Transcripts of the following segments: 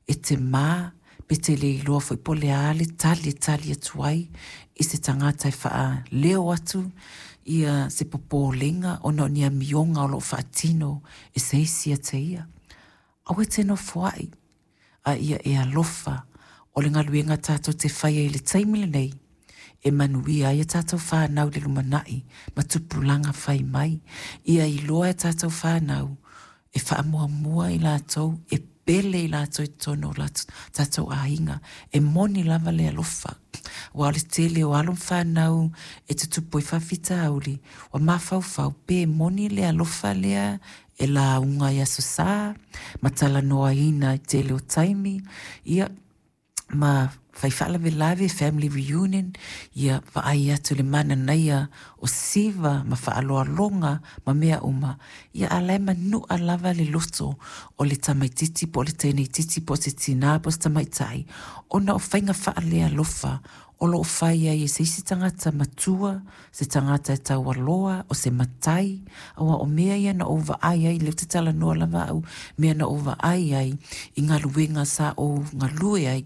E te ma pe te le iloa foi po o le a le tali e tali atu ai i se tagata e faaleo atu ia se popolega ona o ni amioga o lo o faatino e se isi ia te ia. Aua e te nofoai, a ia e alofa o le galuega tatou te faia i le taimi lenei e manuia ai a tatou fanau i le lumanai ma tupulaga fai mai. Ia iloa e a tatou fanau e faamuamua i latou, e pele i latou i totonu o tatou aiga. E moni lava le alofa, aua o le tele o alo ma fanau e tutupu ai faafitauli, ua mafaufau pe moni le alofa lea e lauga i Aso Sa ma talanoaina i le tele o taimi, ia, ma fai faalavelave, family reunion, ia vaai atu i le mananaia o siva ma faaaloaloga ma mea uma, ia a o la e manua lava le loto o le tamaitiiti po o le teineitiiti po o se tinā po o se tamaitai ona o faiga faalealofa o lo o fai ai e se isi tagata matua, se tagata e taualoa, o se matai, aua o mea ia na ou vaai ai, o lea ou te talanoa lava au, mea na ou vaai ai i galuega sa ou galue ai,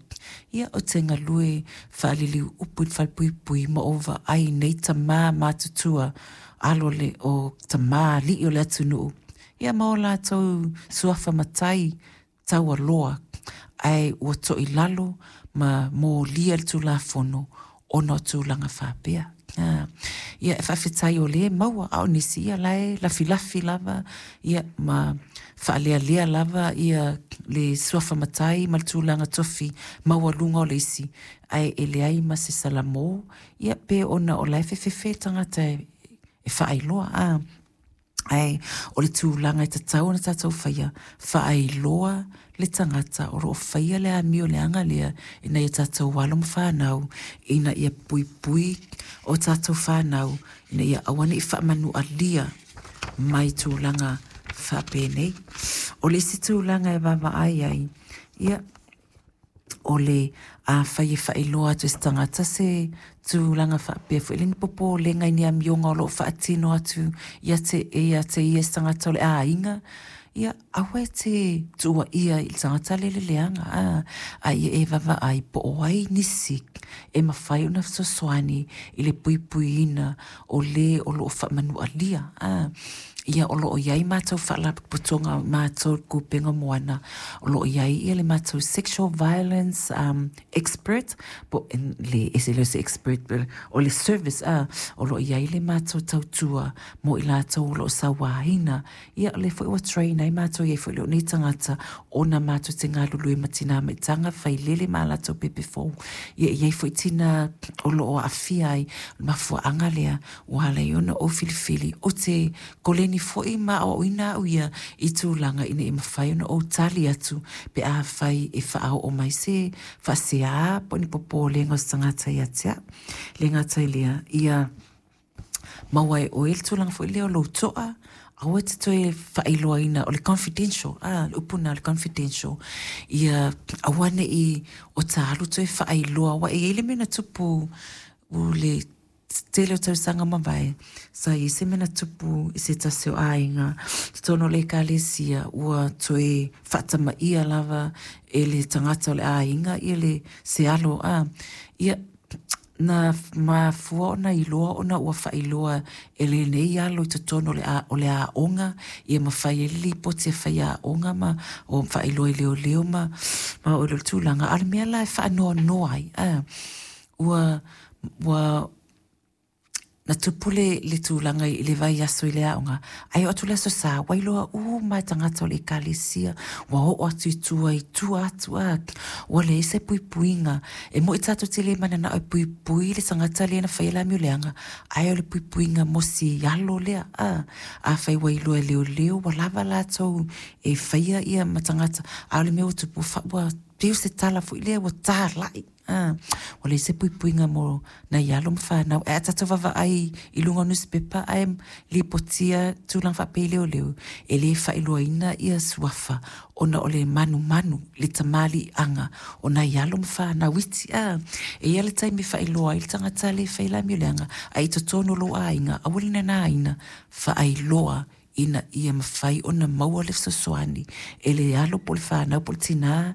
ia ou te galue faaliliu upu i le falepuipui ma ou vaai i nei tama matutua, alo o tamalii o le atunuu, ia ma o latou suafa matai taualoa, ae ua toilalo ma molia le Tulafono ona o tulaga faapea. Ia, e faafetai o lea e maua, a o nisi, ia la e lafilafi lava, ia, ma faalealea lava ia le suafa matai ma le tulaga tofi maualuga o le isi, ae e leai ma se salamo, ia pe ona o la e fefefe le tagata e faailoa, a. Ae o le tulaga e tatau ona tatou faia, faailoa le tagata o lo o faia le amio leaga lea i nai o tatou alo ma fanau ina ia puipui o tatou fanau ina ia aua ne i faamanualia mai tulaga faapenei. O le isi tulaga e vaavaai ai, ia, o le afai e faailoa atu e se tagata se tulaga faapea foi lea ni popolega i ni amioga o lo o faatino atu ia te ia te ia se tagata o le aiga, ia aua e te tuuaia i le tagata lea i le leaga, a, a ia e vaavaai po o ai nisi e mafai ona fesoasoani i le puipuiina o le o lo o faamanualia. A, ia o lo o i ai matou faalapotopotoga matou le Kupenga Moana, o lo o i ai ia le matou sexual violence expert, po le ese lea o se expert, o le service, a, o lo o i ai le matou tautua mo i latou o lo o sauaina. Ia, o lea foi ua train ai matou, e i ai foi lou nei tagata, ona matou te galulue ma tina maitaga, failele ma a latou pepe fou. Ia, e i ai foi tina o lo o aafia ai, o le mafuaaga lea ua ala ai ona ou filifili, ou te koleni foi ma aoaoina au ia i tulaga ina ia mafai ona ou tali atu pe afai e faaoo mai se faasea po o ni popolega o se tagata ia te au. E le gata i lea, ia maua e oe le tulaga foi lea o lou toa, aua e te toe faailoaina, o le confidential, a, le upu lena o le confidential, ia aua ne i o ta alu toe faailoa, aua e i ai le mea na tupu i le tele o tausaga mavae, sa i ai se mea na tupu i se tasi o aiga i totonu o le ekalesia, ua toe faatamaia lava e le tagata o le aiga ia le se alo, a, ia, na mafua ona iloa ona ua faailoa e lenei alo i totonu o le aoga, ia ma fai ai le lipoti a faiaoga ma o faailoa i leoleo ma o le tulaga. A o le mea la e faanoanoa ai, a, ua, ua, na tupu le, le tulaga i le vaiaso i le aoga, ae oo atu le Aso Sa, ua iloa uma lava e tagata o le ekalesia, ua oo atu i tua i tua atu, a, ua leai se puipuiga. E moni tatou te le mananao e puipui le tagata lea na faia le amio leaga, ae o le puipuiga mo si alo lea, a, afai ua iloa e leoleo ua lava latou e faia ia ma tagata, a o le mea ua tupu, ua pei o se tala foi lea ua talai. A, ua leai se puipuiga mo nai alo ma fanau. Ae a tatou vaavaai i luga o nusipepa ae lipotia tulaga faapea i leoleo, e le faailoaina ia suafa ona o le manumanu, le tamaliiaga o nai alo ma fanau iti. A, e i ai le taimi e faailoa ai le tagata lea e fai le amio leaga, ae i totonu o lou aiga, aua le nanaina, faailoa ina ia mafai ona maua le fesoasoani e le alo po o le fanau po o le tina.